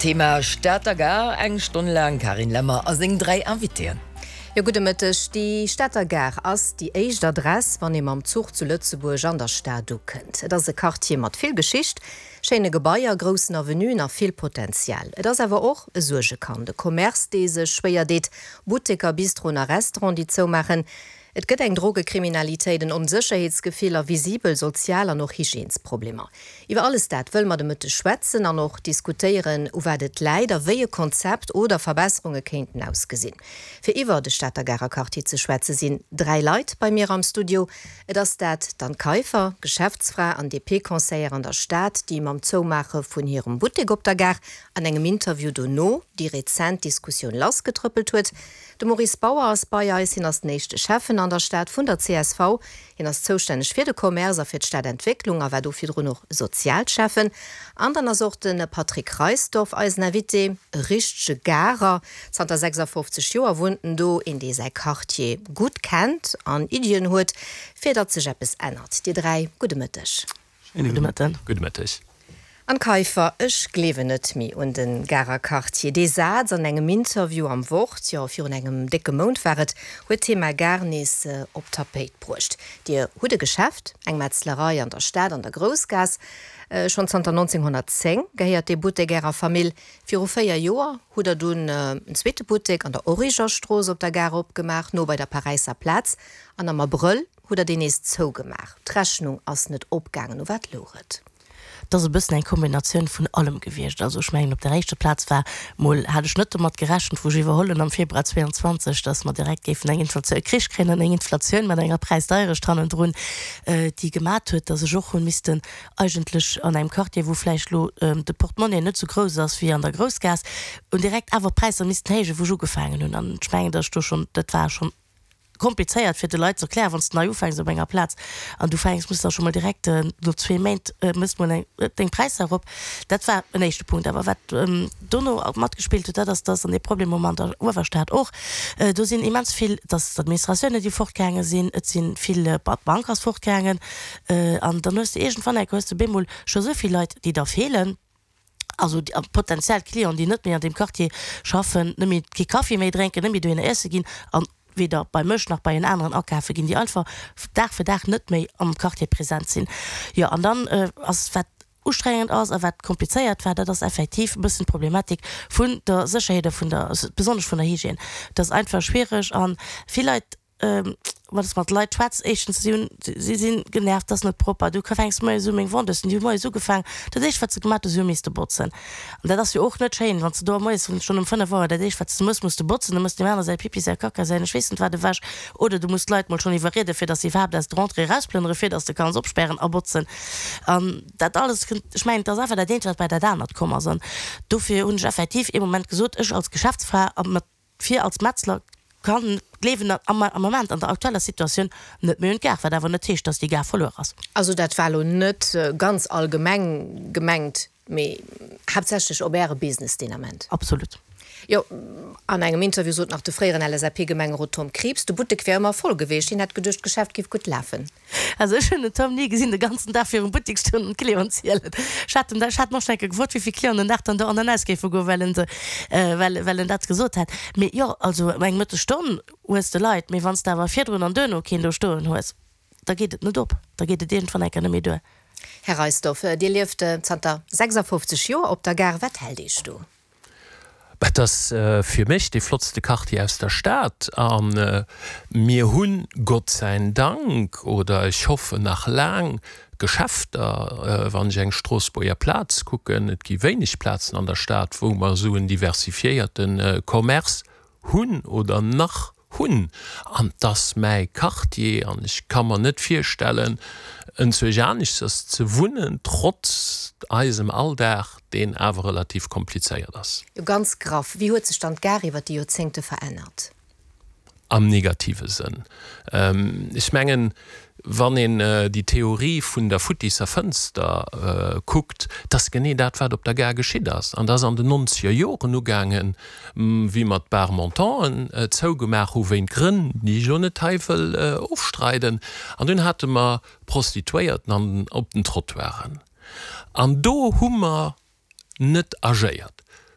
Thema Stater Gare, eng Stonn laang Carine Lemmer a seng 3 Invitéen. Jo, gudde Mëtteg. Déi Stater Gare ass déi éischt Adress, wann ee mam Zuch zu Lëtzebuerg an der Stad ukënnt. Et ass e Quartier mat vill Geschicht, schéine Gebaier, groussen Avenuen a vill Potenzial. Et ass awer och e Suergekand, e Commerce, dee sech schwéier deet, Butteker, Bistroen a Restauranten, déi zoumaachen. Et gëtt eng Drogekriminalitéit, en Onsécherheetsgefill a visibel sozial an och Hygiènesproblemer. Iwwer alles dat wëlle mer de Mëtteg schwätzen an och diskutéieren, u wat et läit a wéi e Konzept oder Verbesserunge kéinten ausgesinn. Fir iwwer de Stater Garer Quartier ze schwätze sinn 3 Leit bei mir am Studio. Et ass dat d'Anne Kaiffer, Geschäftsfra an DP-Conseillère an der Stad, déi mam Zoumaache vun hirem Buttek op der Gare an engem Interview dono déi rezent Diskussioun lassgetrëppelt huet. De Maurice Bauer ass bei eis. Hien ass den éischte Schäffen an der Stad vun der csv. Hien ass zoustänneg fir de Commerce a fir d'Stadentwécklung a war do virdrun och Sozialschäffen. An dann ass och de Patrick Reisdorff eisen Invité, e richtege Garer. Zanter 56 Joer wunnt en do, een dee säi Quartier gutt kennt an Iddien huet, fir datt sech eppes ännert. Dir 3, gudde Mëtteg. Gudde Mëtten. Gudde Mëtteg. Anne Kaiffer, Ech gleewen net méi un de Garer Quartier. Dee Saz an engem Interview am Wort, jo virun engem décke Mount war et, huet d'Thema Gare nees op d'Tapéit bruecht. Dir hutt e Geschäft, eng Metzlerei an der Stad an der Groussgaass. Schonn zanter 1910 gehéiert dee Buttek Ärer Famill. Viru 4 Joer hutt Der dunn en zweete Buttek an der Origerstrooss op der Gare opgemaach, no bei der Paräisser Plaz. An am Abrëll hutt Der deen nees zougemaach. D'Rechnung ass net opgaangen. U wat louch et? Et ass e bëssen eng Kombinatioun vun allem gewiescht. Also ech mengen, op der éischter Plaz war mol, hat ech net domat gerechent, wou ech iwwerholl hunn am Februar 22, datt mer direkt géifen eng Inflatioun, e Krich kréien an eng Inflatioun mat enger Präisdeierecht hannendrun, déi gemat huet, datt ech och hunn missten eigentlech an engem Quartier, wou vläicht elo de Portemonnaie net esou grouss ass wéi an der Groussgaass, hunn direkt awer d'Präisser missten héijen, wou ech ugefaangen hunn. An ech mengen, datt ech do schonn, dat war schonn komplizéiert fir de Leit ze erklären, wann s de nei ufänks op enger Plaz an du fänks, muss da scho mol direkt no zwee Méint mëss mol eng deng Präisser erop. Dat war en éischte Punkt. Awer wat dono matgespillt huet, dat ass, dass, an dee Problem hu mer an der Uewerstad och, do sinn immens vill, dass d'Administratiounen, déi fortgaange sinn, et si vill, d'Bank ass fortgaangen an dann hues de iergendwann enke hues de bemol scho esou vill Leit, déi der feelen. also potentiell Clienten, déi net méi an deem Quartier schaffen, net méi, kee Kaffi méi drénken, net méi dohinner iesse ginn an weder bei mech nach bei en aneren akafe ginn, déi einfach Dag fir Dag net méi am Quartier present sinn. Jo, an dann ass, wat ustrengend ass a wat komplizéiert war, dat ass effektiv e bëssen d'Problematik vun der Sécherheet a vun der, besonnesch vun der Hygiène. Dat ass einfach schwiereg a vill Leit, wann s mat Leit schwätz, éischtens, si hunn, si sinn genervt, ass net propper, du fänks moies u, meng Vendeusen, déi hu moies ugefaang, dat éischt wat se gemat hu, si hu misste botzen. An dat ass jo och net schéin, wann s de do moies schonn um 5 Auer dat éischt wat s de mëss, muss de botzen, da mëss deem anere säi Pipi, säi Kacka, säin ech weess net wat ewech, oder du muss d'Leit mol schonn iwwerrieden, fir datt se iwwerhaapt aus der Entrée erausplënnere fir datt s de kanns opspären a botzen. An dat alles kënnt, ech mengen, et ass einfach dat eent wat bei dat anert komm ass. An dofir hunn ech effektiv ee Moment gesot, ech als Geschäftsfra a mat Fir als Metzler kann gleewen am Moment an der aktueller Situatioun net méi un d'Gare, wat awer net heescht, dass déi Gare verluer ass. Also dat war elo net ganz allgemeng gemengt, mee haaptsächlech op Äre Business deen Ament. Absolut. Jo, an engem Interview sot nach de fréieren LSAP-Gemengerot Tom Krieps, de Buttek wär ëmmer voll geweecht, hien hätt geduecht, d'Geschäft géif gutt lafen. Also ech hunn den Tom ni gesinn de ganzen Dag virum Buttik stoen an d'Clienten zielen. Ech hat en, ech hat en och schon eng Kéier gefrot, wéi vill Clienten den Dag dann do an an aus géife goen, well en se, well, well en dat gesot hat. Mee jo, also eng Mëttesstonn hues de Leit, mee wann s de awer virdrun an duerno keen do stoen hues, da geet et net op, da geet et iergendwann eng Kéier net méi duer. Här Reisdorf, Dir lieft zanter 56 Joer op der Gare. Wat hält Iech do? Et ass fir mech dee flottste Quartier aus der Stad a mir hunn, Gott säin Dank, oder ech hoffen nach laang, Geschäfter. Wann ech eng Stroossbuerger Plaz kucken, et gi wéineg Plazen an der Stad, wou mer esou en diversifiéierte Commerce hunn oder nach hunn. An 't ass mäi Quartier an ech ka mer net virstellen, enzwousch aneschters ze wunnen, trotz eisem Alldag, deen awer relativ komplizéiert ass. Jo, ganz graff, wéi huet sech dann d'Gare iwwer déi Joerzéngte verännert? Am negative Sënn. Ech mengen, wann een déi Theorie vun der futtisser Fënster kuckt, 't ass genee dat, wat op der Gare geschitt ass. An dat ass an den nonzeger Joren ugaangen, wéi mer d'Bar Montanten zougemaach hu wéint Grënn, déi ech elo net hei wëll ofstreiden. An dunn hate mer Prostituéierten op den Trottoiren. An do hu mer net agéiert.